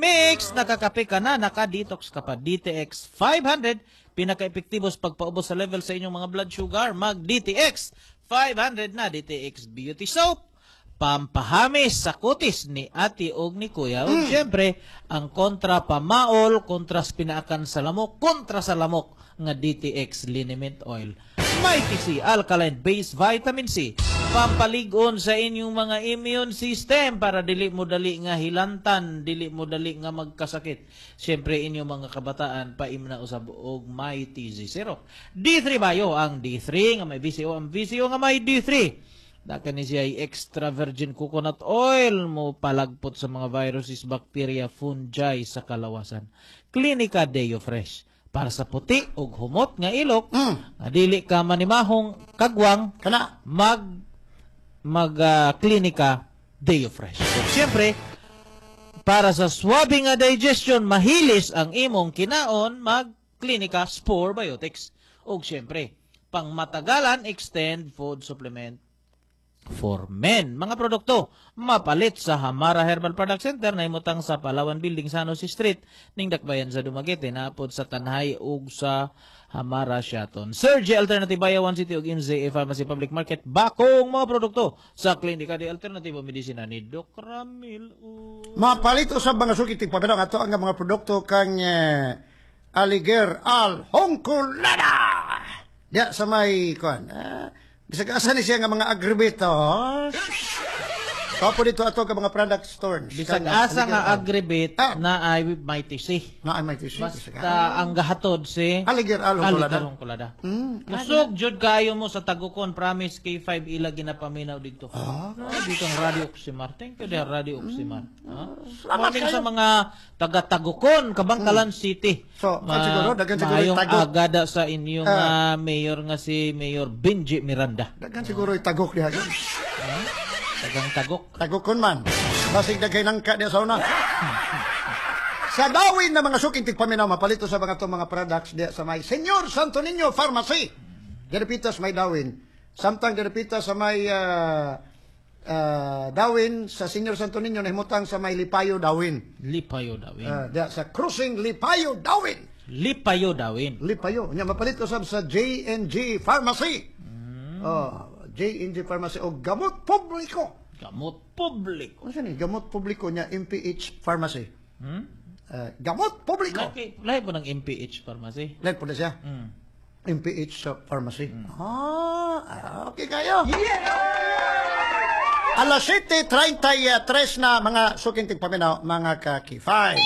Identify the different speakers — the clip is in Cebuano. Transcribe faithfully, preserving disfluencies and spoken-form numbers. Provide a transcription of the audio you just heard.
Speaker 1: Mix, nakakape ka na, naka-detox ka pa. D T X five hundred, pinaka-epektibo sa pagpaubos sa level sa inyong mga blood sugar. Mag D T X five hundred na. D T X Beauty Soap, pampahamis sa kutis ni ate og ni kuya. Ug syempre, ang kontra pamaol, kontra sa pinaakan sa lamok, kontra sa lamok nga D T X Liniment Oil. Mighty C, Alkaline Based Vitamin C, pampaligon sa inyong mga immune system para dili mo dali nga hilantan, dili mo dali nga magkasakit. Syempre, inyong mga kabataan, paimna usab og Mighty C Syrup. D three Bio, ang D three nga may V C O, ang V C O nga may D three. Dakan ni siya ay extra virgin coconut oil mo palagpot sa mga viruses, bacteria, fungi sa kalawasan. Klinika Deo Fresh para sa puti ug humot nga ilok
Speaker 2: Mm.
Speaker 1: nga dili ka manimahong kagwang,
Speaker 2: Kana.
Speaker 1: mag mag ah, Klinika Deo Fresh. So, siyempre, para sa swabe nga digestion, mahilis ang imong kinaon, mag Klinika Spore Biotics. Ug siyempre, pangmatagalan, Extend Food Supplement for Men. Mga produkto, mapalit sa Hamara Herbal Product Center na imutang sa Palawan Building, San Jose Street, ning Dakbayan sa Dumaguete, napod sa Tanhay ug sa Hamara Siaton. Sergi Alternative Bayawan City ug M Z A Pharmacy Public Market, Bakong. Mga produkto sa Klinika de Alternativo Medicina ni Doc Ramil. U.
Speaker 2: Mapalit usab, mga suki tigpaminaw, ato ang mga produkto kang eh, Aliger Al Hongkolada. Diya sa may kuan. Ah, bisag asa ni siya nga mga agribitos. Kapo dito ato ka mga product store.
Speaker 1: Bisag asa nga agribit
Speaker 2: Ah.
Speaker 1: na ay Mighty C.
Speaker 2: Na ay may tisi.
Speaker 1: Basta ang gahatod si
Speaker 2: Aliger Al Hongkolada.
Speaker 1: Aliger Hongkolada.
Speaker 2: Hmm.
Speaker 1: Kusog jud kayo mo sa Tagukon, promise. K five ila ginapaminaw dito.
Speaker 2: Ah.
Speaker 1: Dito ang Radio Oximar. Thank you there, Radio Oximar. Ah.
Speaker 2: Salamat
Speaker 1: Morning
Speaker 2: kayo.
Speaker 1: Sa mga taga Tagukon, Kabangkalan City.
Speaker 2: So, kan siguro, daghan siguro
Speaker 1: maayong
Speaker 2: tagok.
Speaker 1: Agada sa inyong ah, mayor nga si Mayor Benji Miranda.
Speaker 2: Daghan siguro tagok diha.
Speaker 1: Tagang Tagok.
Speaker 2: Tagokon man. Basig daghay nangka diha sa una. Sa Dawin na, mga suking tigpaminaw, mapalito sa mga to mga products diha sa may Senyor Santo Niño Pharmacy. Diripita sa may Dawin. Samtang diripita sa may ah, ah, Dawin sa Senyor Santo Niño, nahimutang sa may Lipayo Dawin.
Speaker 1: Lipayo Dawin.
Speaker 2: Ah, diha sa Crossing Lipayo Dawin.
Speaker 1: Lipayo Dawin.
Speaker 2: Lipayo. Nya mapalito sab sa J and G Pharmacy. Oh, J and G Pharmacy o Gamot Publiko.
Speaker 1: Gamot publiko.
Speaker 2: Ano siya ni? Gamot Publiko niya M P H Pharmacy.
Speaker 1: Hmm?
Speaker 2: Uh, gamot Publiko.
Speaker 1: Lahi, lahi po ng M P H Pharmacy.
Speaker 2: Lahi po na siya.
Speaker 1: Mm.
Speaker 2: M P H sa Pharmacy. Ah, okay kayo. Alas siyete trenta'y tres na, mga suking tigpaminaw, mga ka-K five.